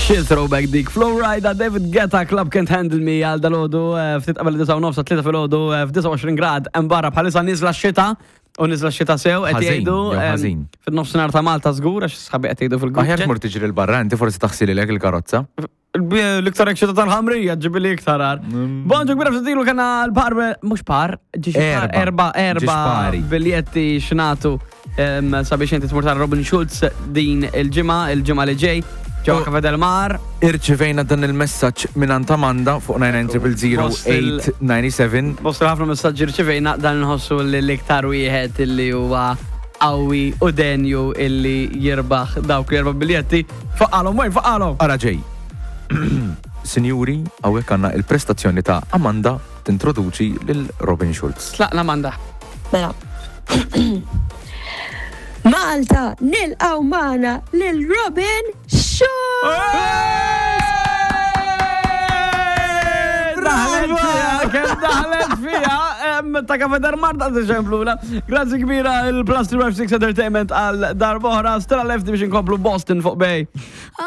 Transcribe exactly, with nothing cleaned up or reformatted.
Xi throwback dik. Flo Rida, David Guetta, Club Can't Handle Me għal dalgħodu, eh, ftit qabel disgħa u nofs, tlieta filgħodu, eh, f'disgħa u għoxrin grad, hemm barra bħalissa niżla x-xita u niżla x-xita sew, qed Ħażin, jgħidu jew em, ħażin. Fin-nofsinhar ta' Malta żgur għax sħabi qed jgħidu fil-grupp. Aħjar tmur tiġri l-barra, inti forsi taħsililek il-karozza. L-iktar xita tal-ħamrija ġibili iktar għar. Bonġu kbira f'tilu kena l-par, mux par, ġiex par, Erba. erba, Ġiex erba pari. biljetti xnatu em, sabiex inti tmur tara Robin Schulz din il-ġimgħa, il-ġimgħa li ġej, ġewwa U- Cafe Del Mar. Irċivejna dan il-messaġġ minn Amanda fuq nine nine zero zero eight nine seven. Bosta ħafna messaġġi rċivejna, dan nħossu li l-iktar wieħed illi huwa qawwi u denju illi jirbaħ dawk l-erba' biljetti. Faqqalhom, wejn, faqqalhom. Ara ġej. Sinjuri, hawnhekk għandna il-prestazzjoni ta' Amanda tintroduċi lil Robin Schulz. Tlaqna, Amanda. Mela. Malta, nilqgħu magħna lil Robin Schulz! Daħlet fija, kemm daħlet fija, em, ta' Cafe Del Mar ta' ċempluna. Grazzi kbira il-Plus three five six Entertainment għal darb'oħra. Stella Lefty biex inkomplu Boston fuq Bay.